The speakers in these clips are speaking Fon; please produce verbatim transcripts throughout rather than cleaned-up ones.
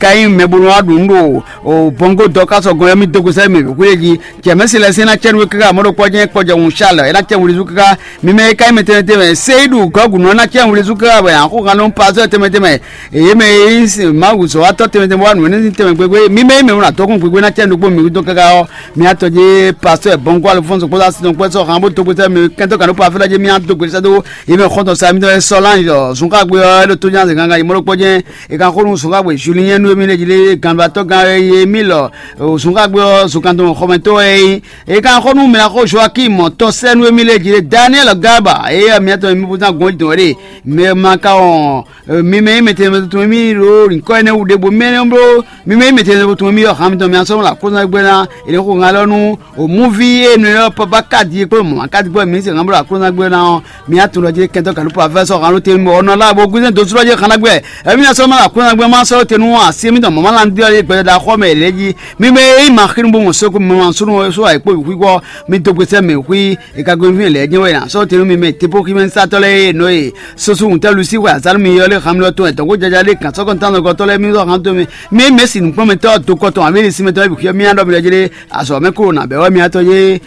ka nyí mɛ bó nɔ wá ɖu nǔ ɖo o bɔngo dɔ ká sɔgɔn ɔ́, mì dó go sɛ́ mɛ xwé jí. Jɛmɛsi lɛ́ɛ sɛ́n ná cɛ nú we káká, mɔ̌ ɖokpɔ́ jɛ́n kpɔjɔ hun Charles é ná cɛ wǔlízú káká. Mi mɛ e ka nyí mɛ tɛnmɛ tɛnmɛ, Seyidu Gɔgu nɔ ná cɛ wǔlízú káká wɛ axɔ́ kan nú pasɔ́ tɛnmɛ tɛnmɛ. Eye mɛ e nyí Mawu zɔ̌watɔ́ tɛnmɛ tɛnmɛ wá nǔ énɛ́ sín tɛnmɛ gbégbé. Mi mɛ e mɛ wlán dɔkun gbégbé ná cɛ nukpó mi dó káká ɔ́, mi atɔ jí pasɔ́ bɔngo Alphonse kpódó asin tɔn kpó sɔ́ han bó dó gbétɛ́ mi kɛntɔ́ kan ɖó Pafila jí mi adó gbétɛ́ dó. Eye mɛ xɔ́ntɔn sa mi tɔn e sɔ́ lan yɔ zunkágbe ɔ́ é ɖo tó nyá zǐngángan yi mɔ́ ɖokpɔ́ jɛ́n. È ka xó nú zunkágbe Julien nú émí lě jí lé ganbatɔ́ gán e yé mì lɔ zunkágbe ɔ́ zunkantɔn xɔmɛtɔ́ wɛ é nyí. È ka xó nú mɛ xó Joakim tɔn sɛ́ nú émí lě jí lé Daniel Garba eye miatɔn mi bó ná gɔn dɔn ɖe mɛ ma ka wɔn mi mɛ nyí mɛtɛnmɛ tɔn mi ɖo nyǐkɔ énɛ́ wú ɖěbǔ mɛ nɔ bló mi mɛ nyí mɛtɛnmɛ tɔn mi ɔ́ han mitɔn mi asɔ́ la kó ná gbɛ́ ná è nɔ xó ŋa lɔ nú o múvi e nɔ ylɔ́ papa kádi kpó mɔ̌ kádi kpó mi se ŋa bló la kó ná gbɛ́ ná ɔ́ mi atun lɔ jí kɛntɔ́ galupa fɛ́ sɔ́ han ló te mɔ ɔnɔ lá bo gúzɛn dó slɔ́ jí xana gbɛ. Ɛmí ná sɔ́ má la kó ná gbɛ́ má sɔ́ te nú asi mitɔn mɔ̌ má la ndí ɔ́ gbɛdɔdɔ xɔ mɛ lě jí mi mɛ e nyí ma xínú bó mɔ sókú mɛ ma súnú só ayǐkpó wǐxwíxɔ mi dó gbèsè mɛ xwí. È ka gbe fínɛ́ lɛ́ɛ jɛ́n wɛ nya sɔ́ te nú mi mɛ tepóxímɛsátɔ́ lɛ́ɛ e nɔ e soso ŋutɛ́ Lusi xwe azǎn nú mi ylɔ́ lé han mi lɔ tɔn wɛ dɔ̌nkpó jaja lé gǎn sɔ́kɔntɔn nukɔntɔ́ lɛ́ɛ mi zɔ han tɔn mi. Mi mɛ si nǔkplɔ́nmɛtɔ́ dokɔ tɔn ǎ mi ɖi sinmɛ tɔn wɛ bǐ xyɔ́ mì ná ɖɔ mi ɖɔ jí lé azɔ̌ mɛ kúrò nǎ bɛ́ wɛ mi atɔ yé.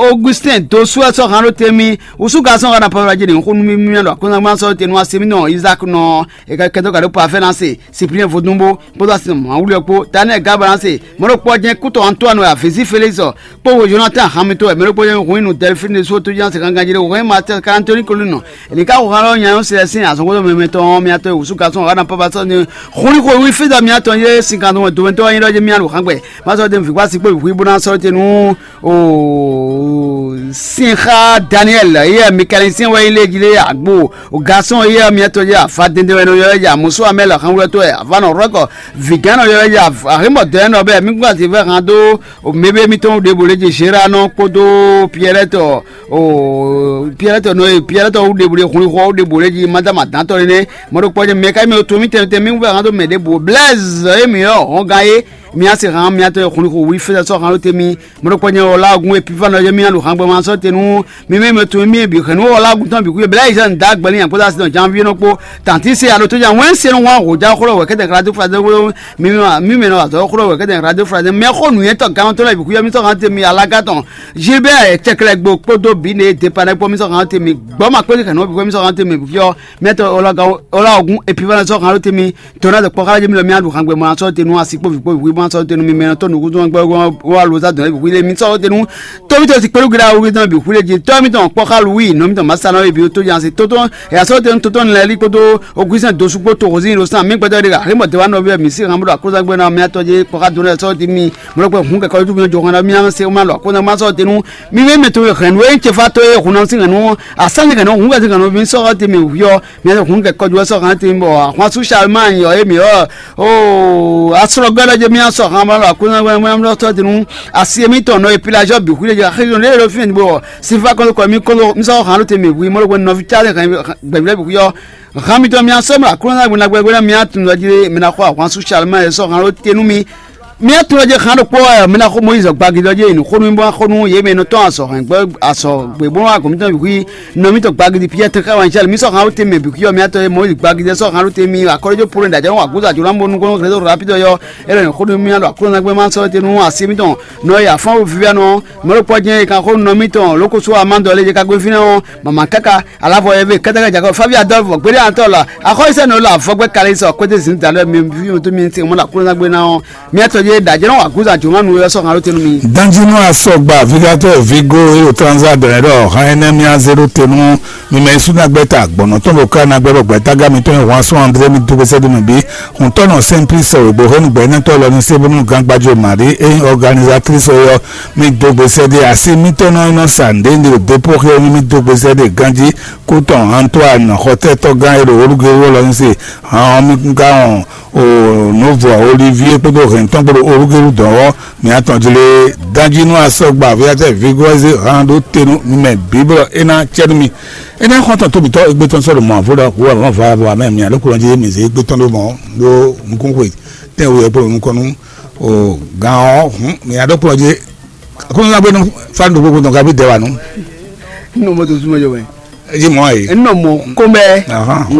Augustin dosu wɛ sɔ́ han ɖó te mi wúsú ka sɔ́ hana pavla jí ɖe xó nú mi mi ɖɔ akɔ́nzán gbán sɔ́ te nú asi mi nɔ Isaac nɔ e ka kɛtɔ ka ɖó Parfait ná se Cyprien vodúnbó kpódó asi nɔ Mawuli ɔ́ kpó Daniel Gaba ná se mɔɖokpɔ́ jɛ́n kútɔ Antoine wɛ Avezi Félix kpó Jonathan Hamilton wɛ mɛ ɖokpó jɛ́n hun inú Delphine ɖésú tó jɛ́n se gángan jí ɖé hun ma Anthony Colin nɔ èlì ká xo xá lɔ nya yɔ́ sɛ sín azɔn xótó mɛmɛ tɔn mi atɔ wúsú ka sɔn ɔ́ ná papa sɔ́ ni xúnixó wí fídɔ mi atɔ yé sin kan tó domɛtɔ ɔ́ nyí ɖɔ jɛ mi alu xán gbɛ má sɔ́ dé vǐ kpá sí kpó vǐ bó ná sɔ́ te nú o sin xá Daniel yé Mikaɛli sín wɛ yí lé jí lé agbo o gasɔn yé mi atɔ yé afa dende wɛ nɔ yɔ yɛ amusu amɛ lɔ xán wúlɔ tó yɛ ava nɔ rɔkɔ vǐgán nɔ yɔ yɛ ahimɔ dɔ yɛ nɔ bɛ mi gbɔ àti vɛ hàn dó o mébé mitɔn ɖěbǔ lé jí Gérard nɔ kpódó Pierrette o Pierrette nɔ e Pierrette wú ɖe bǔ ɖe hun xɔ wú ɖe bǔ ɖe jí madama dantɔ nɛnɛ mɔɖokpɔ jɛ mɛ ka mɛ to mi tɛn tɛn mi wú bɛ han to mɛ ɖe bǔ Blaise e mi yɔ hɔn gan ye mi ase han mi atɔ xun xo wí fɛ sɔ han te mi mɔɖokpɔ jɛ ɔla gun e pifa nɔ jɛ mi alu han gbɛ ma sɔ te nu mi mɛ mɛ to mi bi hɛn nu ɔla gun tɔn bi ku ye Blaise da gbɛli yan kpɔda sinɔ janvier nɔ kpo tanti se alo to jan wɛn se nu wa ho ja xɔlɔ wɛ kɛtɛ kala to fa de wolo mi mɛ mi mɛ nɔ azɔ xɔlɔ wɛ kɛtɛ kala to fa de mɛ xɔ nuyɛtɔ gan to la bi ku ye mi sɔ han te mi alaga tɔn Gilbert Cɛklɛgbo kpódó bǐ ne dépanɛ́ kpó mì sɔ́ hàn te mi gbɔ́ ma kpédí kɛnɛ bí mì sɔ́ hàn te mi fyɔ́ miɛtɔ ɔlɔgɔgún epivana sɔ́ hàn te mi tɔnà de kpɔ́ xá jẹ́ mi lɔ mi aɖu hàn gbɛ mɔ asɔ te nu asi kpó vi kpó vi mɔ asɔ te nu mi mɛ tɔn nukun tɔn gbɛ wa lo za dɔn ebi le mi sɔ́ te nu tɔmi tɔ si kpɛlu gida wo tɔn bi hu le ji tɔmi tɔn kpɔ́ xá lu wi nɔ mi tɔn ma sa nɔ ebi to jan si tɔtɔ ya sɔ te nu tɔtɔ ni lɛ li kpódó Augustin dosu kpó to hosin lo san mi gbɛtɔ de ka hli mɔ de wa nɔ bi mi si hàn bɔ akɔsa gbɛ na mi atɔ je kpɔ́ xá do lɛ sɔ te mi mɔlɔkpɛ hun kɛkɛ ju mi jɔ hɔn na mi se ma lɔ ko na ma sɔ tenu mi ve mɛ to hɛn we ce fa to ye hun na si hɛn asani hɛn hun ka si hɛn mi sɔ te mi yɔ mi hun kɛkɛ ju sɔ hɛn te mi bɔ ahwan su Charlemagne yɔ ye mi yɔ o asrɔ gbɛdɔ je mi sɔ hɛn ma lɔ ko na ma sɔ tenu asi mi tɔn nɔ ye pilajɔ bi hu le ja xejo ne lo fi ni bɔ sifa kɔn kɔ mi kɔn mi sɔ hɛn te mi wi mɔlɔkpɛ nɔvi ca hɛn gbɛgbɛ bi yɔ hɛn mi tɔn mi sɔ ma kúrò na gbɛgbɛ na mi tun dɔ ji mi na xɔ ahwan su Charlemagne sɔ hɛn lo tenu mi Mi atún lɔ jɛ xan ɖokpó ɛ mi ná xó Moyiz gbagidi ɔ́ jɛ yi nǔ xó nú mì bó ná xó nú yě mɛ e nɔ tɔ́n azɔ̌ hɛn gbɛ azɔ̌ gběgbónɔ agɔ̌ mitɔn bǐ xwí nɔ mitɔn gbagidi Piyɛ́ɛ tɛn xá wǎn cɛ́ mi sɔ́ xan wú te mɛ bǐ xwí ɔ́ mi atɔn e Mɔyízi gbagidi ɛ sɔ́ xan wú te mi akɔ́ɖéjó Polo ɖo ajɔ̌ wǎ gúdo ajɔ̌ ná bó nukɔn xlɛ́ dó rapidɔ yɔ é lɔ nyɛ xó nú mì alɔ aklúnɔ gbɛ́ má sɔ́ te nú asi mitɔn nɔ e afán wú vívɛ́nɔ mɛ ɖokpó ɔ́ jɛ́n e kan xó nú nɔ mitɔn lǒ ko sú amá dɔ lé jɛ ka gbé fínɛ́ ɔ́ mama káká Alavɔ eve kɛtɛkɛ jakɔ favi adɔlfo gbede antɔ la axɔyisɛ nɔ la afɔgbɛ kali sɔ kɔte zin da lɛ mi fi mi to mi se mo la kúrò na gbe na ɔ mi atɔ je da jɛnɛ wa guza juma nu yɔ sɔ hàn ló tenu mi. Danjinu asɔgba vigatɔ vigo ero transa dɔnɛ dɔ hàn ɛnɛ mi aze ɖo tenu mi mɛ isu na gbɛta gbɔnɔ tɔn bo ka na gbɛ bɔ gbɛta ga mi tɔn hwan sɔn andre mi do gbèsè do mi bi hun tɔnɔ simplice o bo henu gbɛ ne tɔ lɔ ni se bonu gan gbajo mari e organisatrice yɔ mi do gbèsè de asi mi tɔnɔ nɔ sa nde nde o depo xe mi do gbèsè de ganji Kútɔn Antoine xɔtɛ́tɔ́gán e ɖo Olúgérú lɔ nyi se hǎn ɔ́ mì ka wɔn o nǔvɔ Olivier kpódó hɛ̌ntɔn kpódó Olúgérú dɔn ɔ́, mǐ atɔn jlé danjínú asɔgba Aviatɛ́ Vigɔ́ze hǎn ɖó te nú mi mɛ bǐ bɔ é ná cɛ nú mi. É ná xɔ́ntɔn tó mǐtɔn égbé tɔn sɔ́ ɖo mɔ̌ vo ɖɔ hu wɛ mɔ̌ va bɔ amɛ mǐ aɖókùnrin jí mǐ zé égbé tɔn ɖó mɔ̌ ɖó nukúnxwe tɛ́nwe wɛ kpó nukɔn nú o gǎn ɔ́ hǔn mǐ aɖókùnrin jí Aklúnɔ ná gbé nú fánu ɖokpó gbɔn gaví dɛ wà nú. Nínú mọ́tò súnmọ́ jọ wẹ̀. Èyí mọ́ àyè. Nínú mọ́ kó bẹ́ẹ̀. Ahán, kó